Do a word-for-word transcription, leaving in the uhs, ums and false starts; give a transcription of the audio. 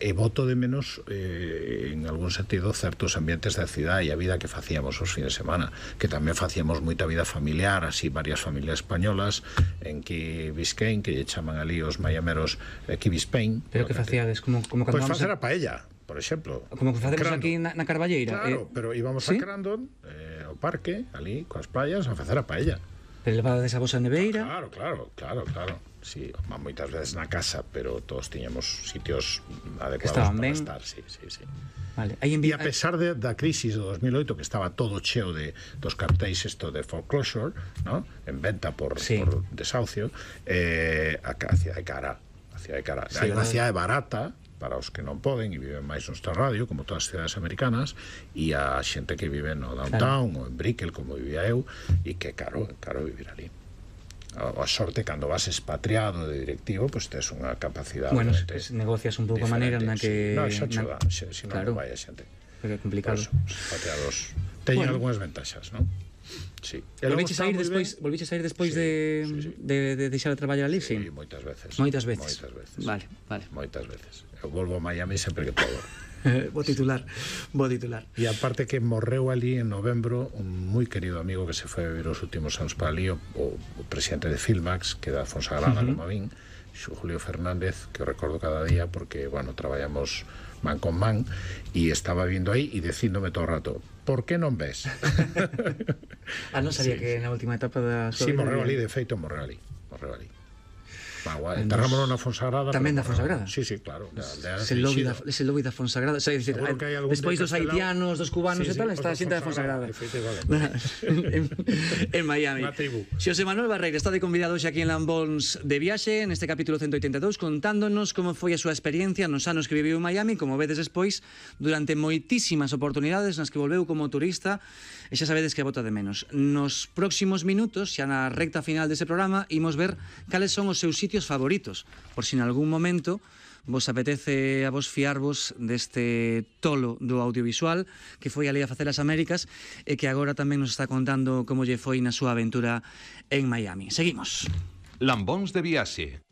E boto de menos, eh, en algún sentido, certos ambientes da cidade e a vida que facíamos os fines de semana, que tamén facíamos moita vida familiar, así varias familias españolas en Key Biscayne, que lle chaman ali os maiameros eh, Key Biscayne. Pero que facíades? Como, como Pois cando facer a... a paella, por exemplo. Como que facemos aquí na, na Carballeira. Claro, eh... pero íbamos ¿sí? a Crandon, eh, ao parque, ali, coas playas, a facer a paella. Pero levades a vosa neveira. Claro, claro, claro, claro. Sí, moitas veces na casa, pero todos tiñamos sitios adecuados para ben estar, sí, sí, sí. Vale. E a pesar de, da crisis do dos mil oito, que estaba todo cheo de dos cartéis isto de foreclosure, ¿no? En venta por, sí. por desahucio, eh, a, a cidade cara, a cidade cara. Sí, hai unha cidade barata para os que non poden e viven máis nuestra radio, como todas as cidades americanas, e a xente que vive no downtown, claro, ou en Brickell, como vivía eu, e que caro, caro vivir ali. A sorte, cando vas expatriado de directivo, pois pues tes unha capacidade. Bueno, pues, negocias un pouco a maneira na que... Sí. No, xa cho dá, se, se non claro, non vai a xente. É complicado. Pues, os expatriados teñen bueno. algunhas ventaxas, non? Sí. Volviches a ir despois, volviches a ir despois sí, de, sí, sí. de, de deixar de traballar ali, sí? Sí, moitas veces. Moitas veces. Moitas veces. Vale, vale. Moitas veces. Eu volvo a Miami sempre que podo. Bo titular, bo titular. E aparte que morreu ali en novembro un moi querido amigo que se foi a vivir os últimos anos para ali, o, o presidente de Filmax, que da Fonsagrada, uh -huh. como a min, Julio Fernández, que o recordo cada día porque, bueno, traballamos man con man, e estaba vindo aí e dicíndome todo o rato, por que non ves? Ah, non sabía sí, que na última etapa da súa sí, morreu ali, de feito morreu ali, morreu ali. Enterrámonos na Fonsagrada. Tamén da Fonsagrada? Sí, sí, claro. Ese lobby da Fonsagrada. Despois dos haitianos, dos cubanos e tal, está a xente da Fonsagrada. En Miami. Xosé Manuel Barreira está de convidado hoxe aquí en Lambóns de viaxe, neste capítulo ciento oitenta e dous, contándonos como foi a súa experiencia nos anos que viviu en Miami, como vedes despois, durante moitísimas oportunidades nas que volveu como turista, e xa sabedes que bota de menos. Nos próximos minutos, xa na recta final dese programa, imos ver cales son os seus sitios favoritos, por si en algún momento vos apetece a vos fiarvos deste tolo do audiovisual que foi ali a facer as Américas e que agora tamén nos está contando como lle foi na súa aventura en Miami. Seguimos. Lambóns de viaxe.